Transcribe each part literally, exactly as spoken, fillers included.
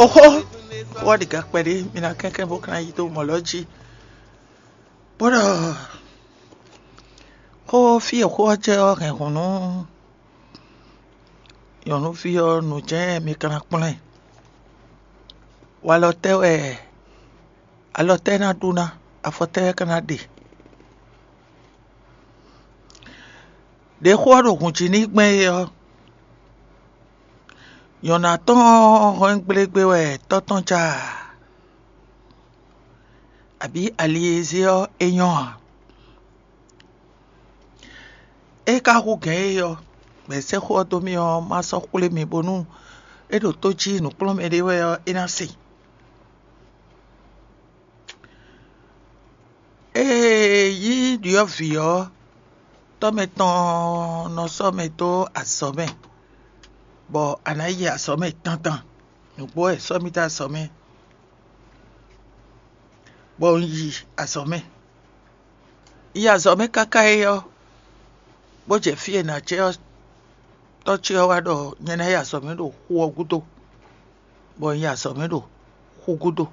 Oxó, xó ɔ́ ɖi ga kpɛɖé, mi ná kɛ́nkɛ́n bó ka ná yi dó mɔ̌ lɔ jí. Bó ɖɔ xó fí e xó ɔ́ jɛ ɔ́ hɛn hǔn nú nyɔ̌nuví ɔ́, nǔ jɛ́n mi ka ná kplɔ́n ɛ. Walɔ tɛ́ wɛ alɔ tɛ́ ná ɖu ná, afɔ tɛ́ wɛ ka ná ɖe? Ɖě xó ɔ́ ɖo hǔn jí n'i gbɛn é ɔ́, nyɔ̌nu atɔ́ɔ́n hɔn gblégbé wɛ tɔ́ tɔn ja, abǐ ali e zé ɔ́ é nyɔ́ ǎ. É ka hú gɛ̌n é ɔ́, bɔ è sɛ́ xó ɔ́ dó mì ɔ́, má sɔ́ xwlé mi bónú é ɖo tó jí nǔkplɔ́nmɛ ɖé wɛ ɔ́, é ná se. Ée nyí ɖyɔ̌vǐ ɔ́, tɔ́ mɛ tɔn nɔ sɔ́ mɛ dó azɔ̌ mɛ, bɔ a nǎ yi azɔ̌ mɛ dandan. Nǔgbó wɛ è sɔ́ mì dó azɔ̌ mɛ, bɔ un yi azɔ̌ mɛ. Un yi azɔ̌ mɛ káká é ɔ́, bó jɛ fí e nǎ jɛ ɔ́, tɔ́ ce ɔ́ wá ɖɔ nyɛ ná yi azɔ̌ mɛ ɖo xu ɔ́ gúdo, bɔ un yi azɔ̌ mɛ ɖo xu gúdo.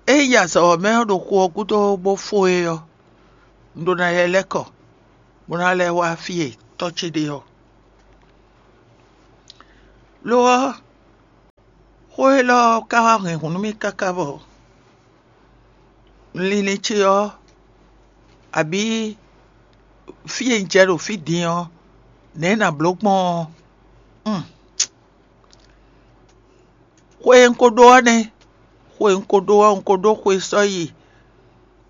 Ée un yi azɔ̌ ɔ́ mɛ ɔ́ ɖo xu ɔ́ gúdo bó fó é ɔ́, un ɖó ná lɛ́ lɛ́ kɔ, bó ná lɛ́ wá fí e tɔ́ ce ɖe ɔ́. Lo ɔ́, xó élɔ́ ɔ́ ka wá hɛn hǔn nú mì káká bɔ linlin ce ɔ́, abǐ fí e un jɛ ɖo fí din ɔ́, nɛ̌ nǎ bló gbɔn ɔ́? Xwe e un ko ɖó ɔ́ nɛ́. Xwe e un ko ɖó ɔ́, un ko ɖó xwe sɔ́ yi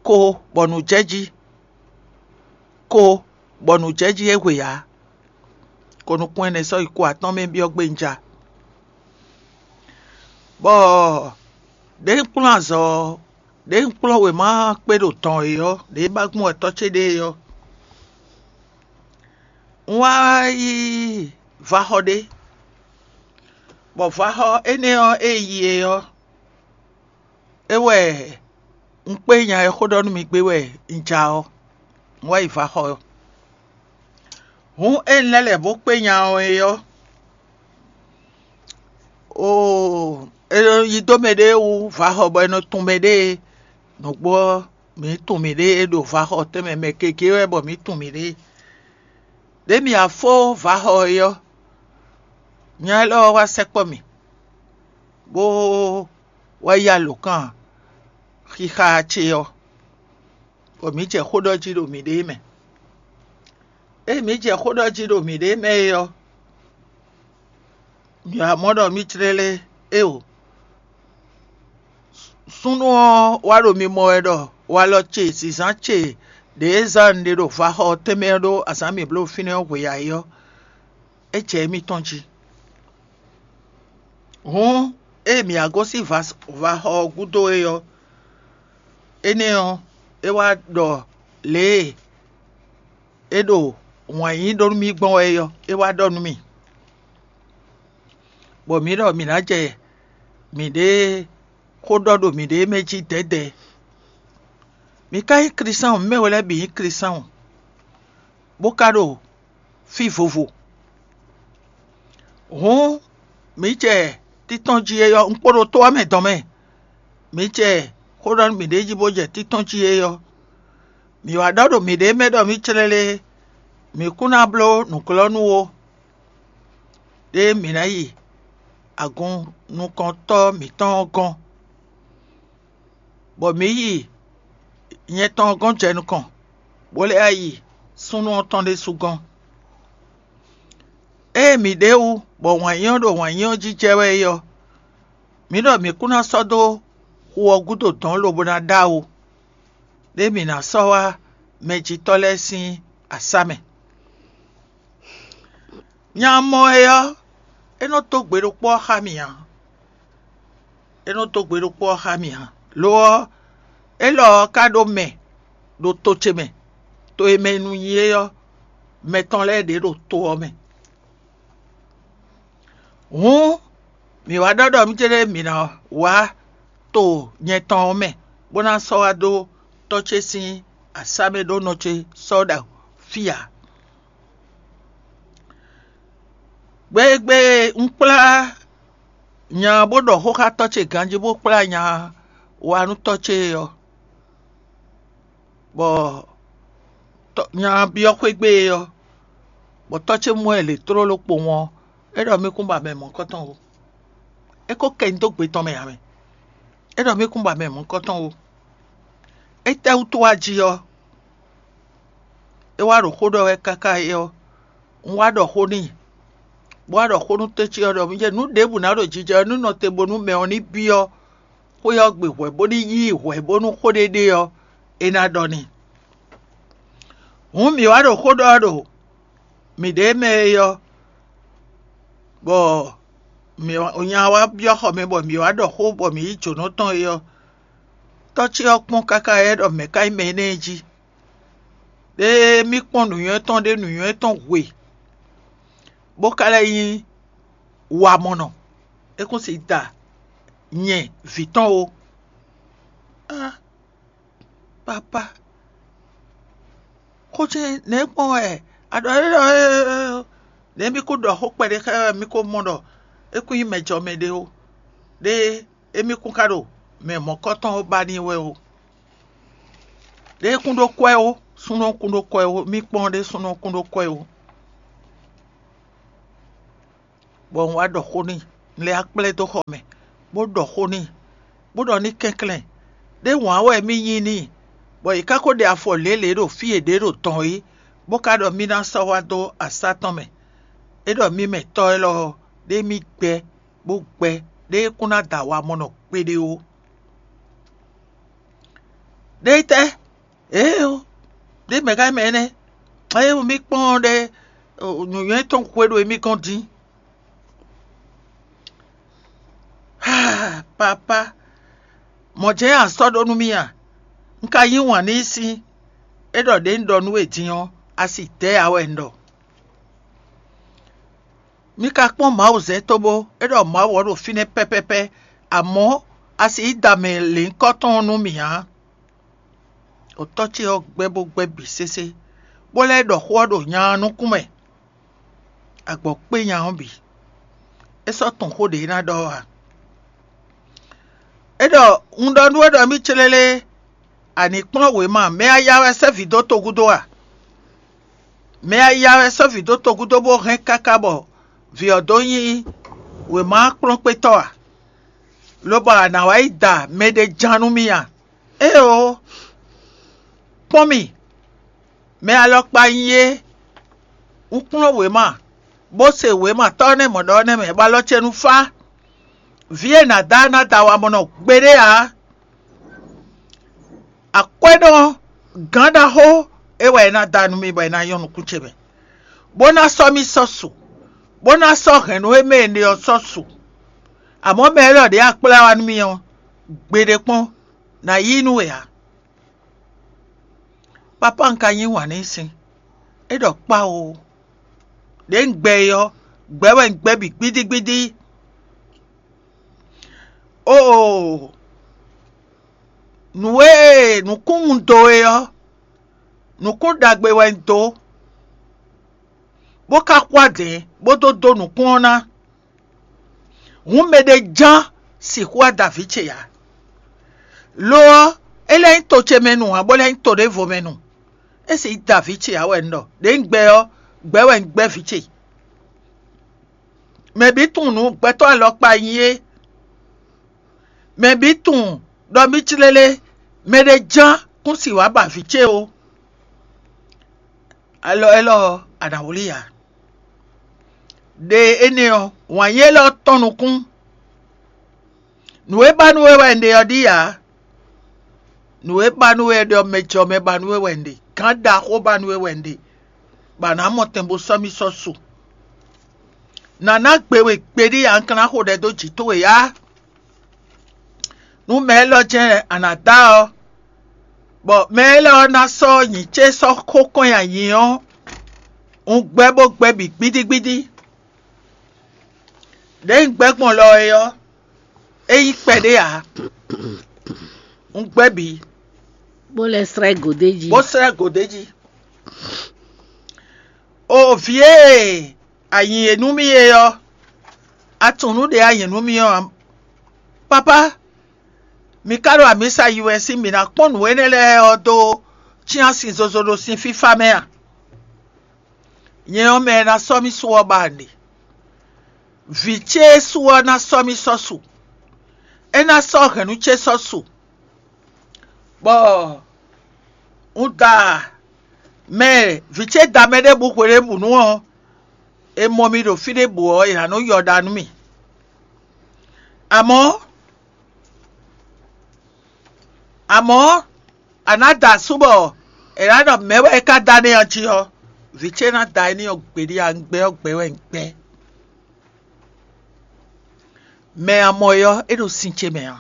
ko bɔ nǔ jɛ jí, ko bɔ nǔ jɛ jí é hwe ǎ. Ko nukún ɛnɛ sɔ́ yi ko atɔ́ɔ́n mɛ byɔ́ gbé un ja. Bɔ ɖěe un kplɔ́n azɔ̌ ɔ́, ɖěe un kplɔ́n wěma kpé ɖo dɔn é ɔ́, ɖěe ba gbɔn wɛ tɔ́ ce ɖe é ɔ́, un wá yi vaxɔ ɖé, bɔ vaxɔ énɛ́ ɔ́ e yi é ɔ́, é wɛ un kpé nya e xó ɖɔ nú mi gbé wɛ un ja ɔ́, un wá yi vaxɔ ɔ́. Hǔn ée un lɛ́ lɛ̌ bó kpé nya ɔ́ é ɔ́, oo, è nɔ yi dó mɛɖée wú vaxɔ bɔ è nɔ tunwun mɛɖée. Nǔgbó ɔ́, mǐ tunwun mǐɖée ɖo vaxɔ tɛnmɛ mɛ gěgé wɛ bɔ mǐ tunwun mǐɖée. Ɖě mǐ wá fó vaxɔ é ɔ́, nya élɔ́ ɔ́ wá sɛkpɔ́ mì, bó wá yí alǒkan xixa ce ɔ́, bɔ mǐ jɛ xó ɖɔ jí ɖo mǐɖée mɛ. Ée mǐ jɛ xó ɖɔ jí ɖo mǐɖée mɛ é ɔ́, mǐ wá mɔ ɖɔ mǐ jlɛ́ lɛ́ɛ éeǒ. Súnnu ɔ́ wá ɖo mi mɔ wɛ ɖɔ walɔ ce, zǐnzán ce ɖě e zán un ɖe ɖo vaxɔ ɔ́ tɛnmɛ ɔ́ ɖó azǎn mǐ bló fínɛ́ ɔ́ hwe ǎ é ɔ́, é jɛ émítɔn jí. Hǔn, ée mǐ wá gosín vaxɔ ɔ́ gúdo é ɔ́, énɛ́ ɔ́, é wá ɖɔ lě e é ɖo wǎn yí ɖó nú mì gbɔn wɛ é ɔ́, é wá ɖɔ nú mì, bɔ mǐ ɖɔ mǐ ná jɛ mǐɖée xó ɖɔ ɖo mǐɖée mɛ jí dɛ̌dɛ̌. Mǐ ka nyí Klísáɔn, mǐ mɛ we lɛ́ɛ bǐ nyí Klísáɔn, bó ka ɖo fí vovo. Hǔn, mǐ jɛ títɔ́n jí é ɔ́, un kpo ɖo to ɔ́ mɛ dɔn mɛ. Mǐ jɛ xó ɖɔ nú mǐɖée jí bó jɛ títɔ́n jí é ɔ́, mǐ wá ɖɔ ɖo mǐɖée mɛ ɖɔ mǐ clɛ́ lé, mǐ kún ná bló nǔglɔ́nú ó, ɖé mǐ ná yi agun nukɔntɔ́ mǐtɔn ɔ́ gɔ́n, bɔ mǐ yi nyɛ tɔn ɔ́ gɔ́n jɛ nukɔn, bó lɛ́ yi súnnu ɔ́ tɔn ɖésú gɔ́n. Ée mǐ ɖe wú, bɔ wǎn yí ɔ́ ɖo wǎn yí ɔ́ jí jɛ wɛ é ɔ́, mǐ ɖɔ mǐ kún ná sɔ́ dó xu ɔ́ gúdo dɔ̌n lobo ná ɖó awo, ɖé mǐ ná sɔ́ wá mɛjitɔ́ lɛ́ɛ sín asá mɛ. Nya mɔ é ɔ́, é nɔ dó gbe ɖokpó ɔ́ xá mì ǎ. É nɔ dó gbe ɖokpó ɔ́ xá mì ǎ. Lo ɔ́, élɔ́ ɔ́ ka ɖó mɛ ɖo to ce mɛ, to e mɛ nu nyi é ɔ́, mɛ tɔn lɛ́ɛ ɖě ɖo to ɔ́ mɛ. Hǔn, mǐ wá ɖɔ ɖɔ mǐ céɖée mǐ ná wá to nyɛ tɔn ɔ́ mɛ, bó ná sɔ́ wá dó tɔ́ ce sín asá mɛ ɖó nɔ ce sɔ́ ɖo fí ǎ. Gbe e gbe e un kplá nya bó ɖɔ xó xá tɔ́ ce ganjí bó kplá nya wá nú tɔ́ ce ɔ́, bɔ nya byɔ́ xwé gbe ɔ́, bɔ tɔ́ ce mɔ ɛ lě tlóló kpowun ɔ́, é ɖɔ mì kún ba mɛ mɔ̌kɔtɔn ó. É ko kɛ nyi dó gbe tɔn mɛ ǎ mɛ. É ɖɔ mì kún ba mɛ mɔ̌kɔtɔn ó. Étɛ́wútu wá jí ɔ́, é wá ɖo xó ɖɔ wɛ káká é ɔ́, un wá ɖɔ xó n'i, bó wá ɖɔ xó nú tɔ́ ce ɔ́ ɖɔ mì jɛ nǔ ɖěbǔ ná ɖo jijɛ ɔ́ nú nɔ te bónú mɛ ɔ́ ní byɔ́ xwé ɔ́ gbe hwɛ̌ bó ní yí i hwɛ̌ bónú xó ɖé ɖe ɔ́, é ná ɖɔ n'i. Hǔn mǐ wá ɖo xó ɖɔ ɔ́ ɖo mǐɖée mɛ é ɔ́, bɔ mǐ nya wá byɔ́ xɔ mɛ bɔ mǐ wá ɖɔ xó bɔ mǐ yí jǒnɔ tɔn é ɔ́, tɔ́ ce ɔ́ kpɔ́n káká é ɖɔ mɛ̌ ka nyí mɛ énɛ́ jí. Ɖé mì kpɔ́n nǔnywɛ́ tɔn ɖé nǔnywɛ́ tɔn hwe, bó ka lɛ́ nyí wamɔnɔ. É kún si da nyɛ vǐ tɔn ó. Á, papá, xó ce nɛ̌ gbɔn wɛ a ɖɔ é ɖɔ nɛ̌ mì kún ɖɔ xó kpɛɖé xá wɛ mì ko mɔ ɖɔ é kún nyí mɛjɔmɛ ɖé ó. Ɖé émí kún ka ɖo mɛ mɔ̌kɔtɔn ɔ́ ba n'i wɛ ó. Ɖé kún ɖó kwɛ́ ó, súnnu kún ɖó kwɛ́ ó, mì kpɔ́n ɖé súnnu kún ɖó kwɛ́ ó. Bɔ un wá ɖɔ xó n'i, un lɛ́ wá kplá ɛ dó xɔ mɛ, bó ɖɔ xó n'i, bó ɖɔ ní kɛnklɛ́n, ɖé wǎn wɛ mì nyi n'i, bɔ yě ká ko ɖe afɔ lě lě ɖo fí e ɖě ɖo tɔn é, bó ka ɖɔ mì ná sɔ́ wá dó asá tɔn mɛ. É ɖɔ mì mɛ tɔ́ élɔ́ ɔ́, ɖé mì gbɛ́, bó gbɛ́, ɖé kún ná da wamɔnɔ kpéɖé ó. Ɖé tɛ́? Éeó, ɖé mɛ̌ ká mɛ énɛ́? Éeó, mì kpɔ́n ɖɛ nǔnywɛ́ tɔn xwe ɖo émí gɔ́n dín. Haa, papá, mɔ̌ jɛ́n a sɔ́ ɖó nú mì a? Un ka yí wǎn n'i sín, é ɖɔ ɖě un ɖɔ nú we din ɔ́, a si dɛ̌ ǎ wɛ un ɖɔ. Mi ka kpɔ́n Mawu zɛ cóbó é ɖɔ Mawu ɔ́ ɖo fínɛ́ pɛ́pɛ́pɛ́, amɔ̌ a sixú da mɛ lěhunkɔtɔn ɔ́ nú mì ǎ. Otɔ́ ce ɔ́ gbɛ́ bó gbɛ́ bǐ sésé, bó lɛ́ ɖɔ xó ɔ́ ɖo nya ɔ́ nukún mɛ, agbɔ̌ kpé nya ɔ́ bǐ. É sɔ́ tunwun xó ɖě ná ɖɔ ɔ́ ǎ. É ɖɔ: Un ɖɔ nú we ɖɔ mì clélé, a nǐ kplɔ́n wěma, mɛ aya wɛ sɛ́ vǐ dó togúdo a? Mɛ aya wɛ sɔ́ vǐ dó togúdo bó hɛn káká bɔ vǐ ɔ́ dó nyí wěma kplɔ́nkpétɔ́ a? Lobɔ a nǎ wá yi da mɛɖé ján nú mì a? Éeǒ! Kpɔ́n mì, mɛ alɔkpa nyí é. Un kplɔ́n wěma, bó se wěma tɔ́ nɛ́ mɔ̌ ɖɔ ɔ́ nɛ́ mɛ, bɔ alɔ ce nu fá. Vǐ e nǎ da ná da wamɔnɔ gbeɖé ǎ. Akwɛ́ ɖɔ gǎn ɖaxó é wɛ é ná da nú mì bɔ é ná nyɔ́ nukún ce mɛ, bó ná sɔ́ mì sɔ́ su, bó ná sɔ́ hɛ̌nnu e mɛ è ɖe ɔ́ sɔ́ su. Amɔ̌ mɛ élɔ́ ɖě a kplá wá nú mì ɔ́, gbeɖé kpɔ́n, nǎ yí nú we ǎ. Papá un ka yí wǎn n'i sín, é ɖɔ kpá o. Ɖě un gbɛ é ɔ́, gbɛ̌ wɛ un gbɛ́ bǐ gbídígbídí. Oo, nǔ e nǔkún un dó é ɔ́, nǔkún ɖagbe wɛ un dó, bó ka xwá dɛ̌n bó dó dó nǔkún ɔ́ ná. Hǔn mɛɖé ján sixú wá da vǐ ce ǎ. Lo ɔ́, é lɛ́ nyí to ce mɛ nu ǎ, bó lɛ́ nyí to ɖěvo mɛ nu. É sixú da vǐ ce ǎ wɛ un ɖɔ. Ɖě un gbɛ ɔ́, gbɛ̌ wɛ un gbɛ́ vǐ ce. Mɛ bǐ tunwun nǔ gbɛtɔ́ alɔkpa nyí é. Mɛ bǐ tunwun ɖɔ mì clélé, mɛɖé ján kún si wǎ ba vǐ ce ó. Alɔ élɔ́ ɔ́, a nǎ wlí ǎ. Ɖe énɛ́ ɔ́, wǎn yí élɔ́ tɔn nukún. Nǔ e ba nú we wɛ un ɖe ɔ́ ɖíe ǎ. Nǔ e ba nú we ɖɔ mɛ jɔ mɛ ba nú we wɛ un ɖe, gǎn ɖaxó ba nú we wɛ un ɖe, bɔ a nǎ mɔ tɛn bó sɔ́ mì sɔ́ su. Nǎ ná gbe we gbeɖé ǎ, un ka ná xo ɖɛ dó jǐ towe ǎ. Nú mɛ élɔ́ jɛ́n a nǎ da ɔ́, bɔ mɛ élɔ́ ɔ́ ná sɔ́ nyǐ ce sɔ́ xó kɔn nyi ayǐ ɔ́, un gbɛ́ bó gbɛ́ bǐ gbídígbídí. Ɖěe un gbɛ́ gbɔn lɔ é ɔ́, é nyí kpɛɖé ǎ. Un gbɛ́ bǐ, bó lɛ́ slɛ́ gǒdé jí. Bó slɛ́ gǒdé jí. O vǐ e a nyi e nú mì é ɔ́, A tunwun nǔ ɖě a nyɛ nú mì ɔ́ ǎ. Papá, mi ka ɖo amǐsa yi wɛ sín mǐ ná kpɔ́n nǔ énɛ́ lɛ́ɛ ɔ́ dó cyán sin zozo ɖo sin fífá mɛ a? Nyɛ ɔ́, mɛ e ná sɔ́ mì su ɔ́ ba nǔɖé. Vǐ ce e su ɔ́ ná sɔ́ mì sɔ́ su. É ná sɔ́ hɛ̌nnu ce sɔ́ su, bɔ un da mɛ vǐ ce da mɛ ɖěbǔ hweɖěbǔnu ɔ́, è mɔ mì ɖo fí ɖěbǔ ɔ́, è nǎ nɔ yɔ ɖa nú mì. Amɔ̌, amɔ̌, a nǎ da asú bɔ è nǎ ɖɔ mɛ̌ wɛ é ka da nɛ́ ɔ́ jí ɔ́, vǐ ce ná da n'i ɔ́ gbeɖé a un gbɛ́ ɔ́ gbɛ́ wɛ un gbɛ́. Mɛ a mɔ é ɔ́, é ɖo sin ce mɛ ǎ.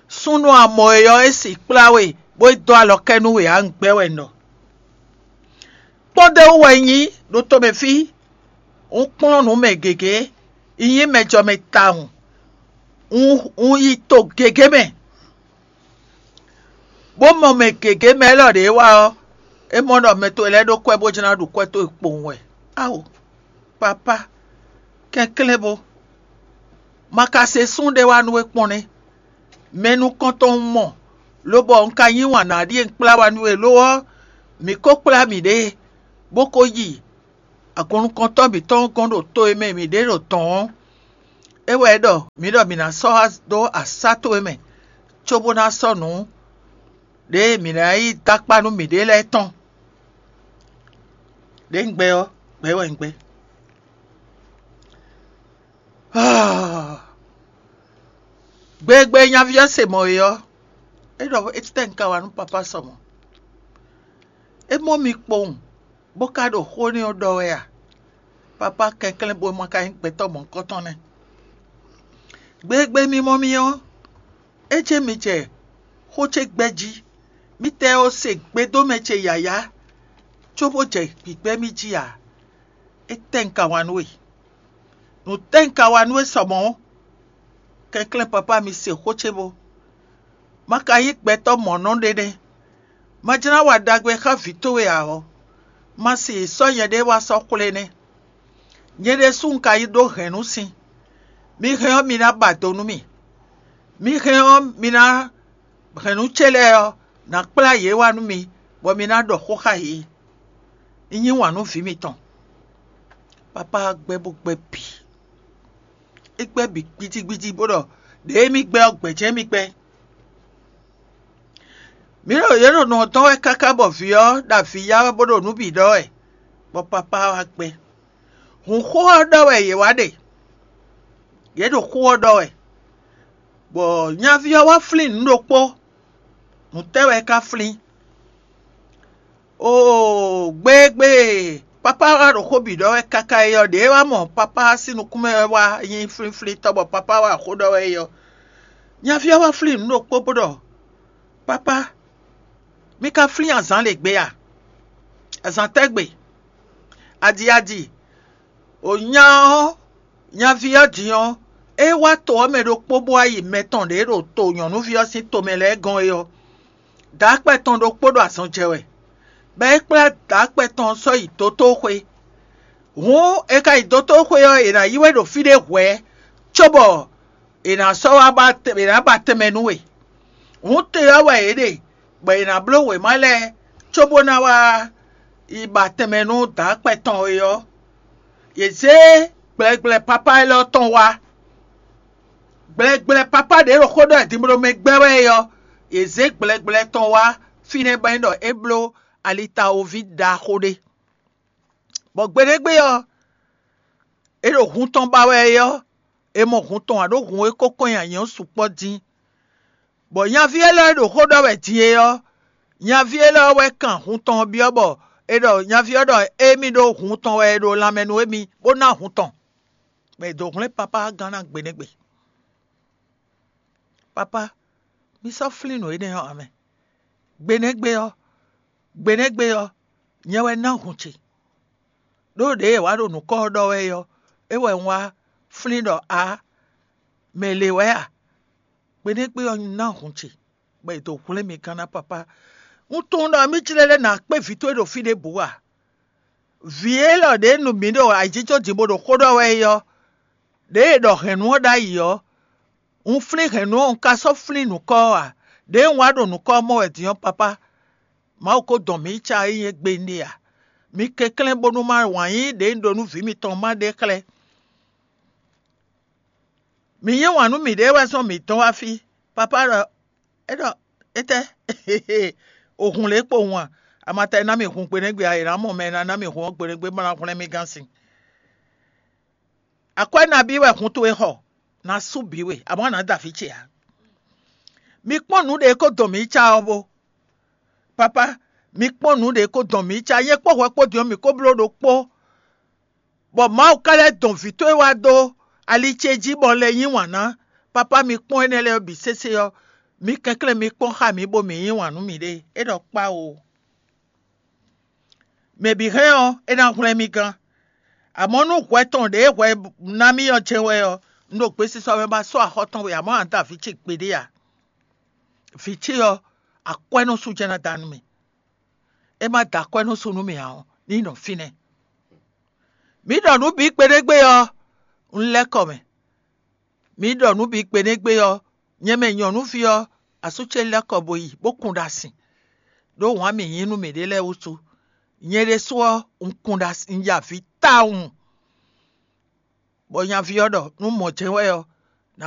Súnnu a mɔ é ɔ́, é si kplá we, bó é dó alɔ kɛ nú we ǎ, un gbɛ́ wɛ un ɖɔ. Kpɔ́ndéwú wɛ un nyí ɖo tomɛ fí, un kplɔ́n nǔ mɛ gěgé, un nyí mɛjɔmɛ tawun, un, un yi to gěgé mɛ, bó mɔ mɛ gěgé mɛ élɔ́ ɖě wá ɔ́, é mɔ ɖɔ mɛ towe lɛ́ɛ ɖó kwɛ́ bó jlá ɖu kwɛ́ towe kpowun wɛ. Ao, papá, kɛnklɛ́n bo, ma ka se sún ɖé wá nú we kpɔ́n nɛ́. Mɛ nukɔntɔn un mɔ, lobɔ un ka yí wǎn ná ɖíe un kplá wá nú we lo ɔ́, mǐ ko kplá mǐɖée, bó ko yi agun nukɔntɔn mǐtɔn gɔ́n ɖo to e mɛ mǐ ɖe ɖo dɔ̌n ɔ́. É wɛ é ɖɔ mǐ ɖɔ mǐ ná sɔ́ dó asá towe mɛ, cóbó ná sɔ́ nǔ ɖě mǐ ná yi dó akpá nú mǐɖée lɛ́ɛ tɔn. Ɖě un gbɛ ɔ́, gbɛ wɛ un gbɛ. Gbe e gbe nyaví ɔ́ se mɔ̌ é ɔ́, é ɖɔ étɛ́ un ka wa nú papá sɔ mɔ̌? É mɔ mi kpowun, bó ka ɖo xó énɛ́ ɔ́ ɖɔ wɛ a? Papá kɛnklɛ́n bo ma ka nyí gbɛtɔ́ mɔ̌hunkɔtɔn nɛ́. Gbe e gbe mi mɔ mi ɔ́, é jɛ́n mi jɛ xó ce gbɛ́ jí. Mítɛɛ ó se gbedómɛ ce yǎyá, cóbó jɛ gbǐgbɛ́ mì jí ǎ. Étɛ́ un ka wa nú we? Nǔ tɛ́ un ka wa nú we sɔ mɔ̌? Kɛnklɛ́n papá mi se xó ce bó. Ma ka nyí gbɛtɔ́ mɔ̌nɔ ɖé nɛ́. Ma jlá wa ɖagbe xá vǐ towe ǎ ɔ́, ma si sɔ́ nyɛɖée wá sɔ́ xwlé nɛ́. Nyɛ ɖésú un ka yi ɖó hɛ̌nnu sin. Mi hɛn ɔ́, mi ná ba do nú mì. Mi hɛn ɔ́, mi ná hɛ̌nnu ce lɛ́ɛ ɔ́, nǎ kplá yě wá nú mi, bɔ mi ná ɖɔ xó xá yě. Un yí wǎn nú vǐ mitɔn. Papá gbɛ́ bó gbɛ́ bǐ. É gbɛ́ bǐ gbídígbídí bó ɖɔ ɖěe mì gbɛ́ ɔ́, gbɛ̌ jɛ́n mì gbɛ́. Mǐ ɖo yě ɖo nǔ ɔ́ dɔn wɛ káká bɔ vǐ ɔ́ ɖo avǐ ya wɛ bó ɖo nǔ bǐ ɖɔ wɛ, bɔ papá wá gbɛ́. Hǔnxó ɔ́ ɖɔ wɛ yě wá ɖe. Yě ɖo xó ɔ́ ɖɔ wɛ, bɔ nyaví ɔ́ wá flín nǔ ɖokpó. Nǔ tɛ́ wɛ é ka flín? Oo, gbeegbe! Papá wá ɖo xó bǐ ɖɔ wɛ káká é ɔ́, ɖěe wá mɔ papá sín nukún mɛ wɛ wá nyí flínflíntɔ́ bɔ papá wá xó ɖɔ wɛ é ɔ́, nyaví ɔ́ wá flín nǔ ɖokpó bó ɖɔ: Papá, mi ka flín azǎn lě gbe a? Azǎn tɛ́ gbe? Adi adi! O nya ɔ́, nyaví ɔ́ din ɔ́, é wá to ɔ́ mɛ ɖokpó bó wá yi mɛ tɔn ɖě ɖo to nyɔ̌nuví ɔ́ sín tomɛ lɛ́ɛ gɔ́n é ɔ́, dǎkpɛ tɔn ɖokpó ɖo azɔn jɛ wɛ, bɔ é kplá dǎkpɛ tɔn ɔ́ sɔ́ yi dotóxwé. Hǔn è ka yi dotóxwé ɔ́, è nǎ yí we ɖo fí ɖé hwɛ̌, cóbɔ è nǎ sɔ́ wá ba è nǎ ba tɛnmɛ nú we. Hǔn te ɔ́ wɛ yě ɖe, bɔ è nǎ bló wěma lɛ́ɛ cóbó ná wá yi ba tɛnmɛ nú dǎkpɛ tɔn é ɔ́, yě zé gblɛgblɛ papá élɔ́ tɔn wá. Gblɛgblɛ papá ɖě ɖo xó ɖɔ wɛ din bó ɖo mɛ gbɛ́ wɛ é ɔ́, yě zé gblɛgblɛ tɔn wá fínɛ́ bɔ é ɖɔ é bló alitawoví ɖaxó ɖé. Bɔ gbeɖégbé ɔ́, é ɖo hun tɔn ba wɛ é ɔ́, è mɔ hun tɔn ǎ ɖó hun e kó kɔn nyi anyǔ ɔ́ sukpɔ́ dín. Bɔ nyaví élɔ́ e ɖo xó ɖɔ wɛ din é ɔ́, nyaví élɔ́ wɛ kan hun tɔn ɔ́ byɔ́ bɔ è ɖɔ nyaví ɔ́ ɖɔ émí ɖó hun tɔn wɛ è ɖo lanmɛ nú émí, bó ná hun tɔn, bɔ è dǒ hwlɛ́n papá gán ná gbe nɛ́ gbe. Papá, mi sɔ́ flín nǔ énɛ́ ɔ́ ǎ mɛ. Gbe nɛ́ gbe ɔ́, gbe nɛ́ gbe ɔ́, nyɛ wɛ ná hun ce. Ɖó ɖěe è wǎ ɖo nǔkɔ ɔ́ ɖɔ wɛ é ɔ́, é wɛ un wá flín ɖɔ ǎ, mɛ le wɛ a? Gbe nɛ́ gbe ɔ́ ná hun ce, bɔ è dǒ hwlɛ́n mi gán ná papá. Un tunwun ɖɔ mí jlɛ́ lɛ́ nǎ kpé vǐ towe ɖo fí ɖěbǔ a? Vǐ élɔ́ ɖě nu mǐ ɖo ayǐjínjɔ́n din bó ɖo xó ɖɔ wɛ é ɔ́, Ɖěe è ɖɔ hɛ̌nnu ɔ́ ɖ'ayǐ ɔ́, un flín hɛ̌nnu ɔ́, un ka sɔ́ flín nǔkɔ ɔ́ ǎ. Ɖěe un wá ɖo nǔkɔ ɔ́ mɔ wɛ din ɔ́, papá, Mawu ko dɔn mǐ yi ca é nyí égbé nɖé ǎ. Mi kɛnklɛ́n bónú má wǎn yíyí ɖě un ɖó nú vǐ mitɔn má ɖe xlɛ́. Mǐ yí wǎn nú mǐɖée wɛ zɔn mǐ dɔn wá fí. Papá ɖɔ é ɖɔ étɛ́? Òhun lě kpo hun a? Amata e ná mì hun gbeɖégbé a? È nǎ mɔ mɛ e ná ná mì hun ɔ́ gbeɖégbé bó ná hwlɛ́n mì gán sin. Akwɛ́ nabí wɛ hun towe xɔ? Ná sú bǐ we, amɔ̌ a nǎ da vǐ ce ǎ. Mi kpɔ́n nǔ ɖě ko dɔn mǐ yi ca ɔ́ bó. Papá, mi kpɔ́n nǔ ɖě ko dɔn mǐ yi ca, nyɛ kpó hwɛ kpó din ɔ́, mǐ ko bló ɖokpó, bɔ Mawu ka lɛ́ dɔn vǐ towe wá dó ali ce jí bɔ un lɛ́ yí wǎn ná. Papá, mi kpɔ́n énɛ́ lɛ́ɛ bǐ sésé ɔ́, mi kɛnklɛ́n mi kpɔ́n xá mǐ bó mǐ yí wǎn nú mǐɖée. É ɖɔ kpá o. Mɛ bǐ hɛn ɔ́, é ná hwlɛ́n mì gán. Amɔ̌ nú hwɛ tɔn ɖě hwɛ ná mì ɔ́ jɛ́n wɛ ɔ́, un ɖo gbesisɔ mɛ ba sɔ́ axɔ́ tɔn we, amɔ̌ a da vǐ ce gbeɖé ǎ. Vǐ ce ɔ́, akwɛ́núsú jɛ́n ná da nú mì. É má da akwɛ́núsú nú mì ǎ ɔ́, ní nɔ fínɛ́. Mǐ ɖɔ nǔ bǐ kpeɖégbé ɔ́, un lɛ́ kɔ mɛ. Mǐ ɖɔ nǔ bǐ kpeɖégbé ɔ́, nyɛ mɛ nyɔ̌nuví ɔ́, asú ce lɛ́ kɔ bo yi bó kun ɖa sin, ɖó wǎn mǐ yí nú mǐɖée lɛ́ɛ wútu. Nyɛ ɖésú ɔ́, un kun ɖa sin, un ya avǐ tawun. Bɔ nyaví ɔ́ ɖɔ nú mɔ̌ jɛ́n wɛ ɔ́,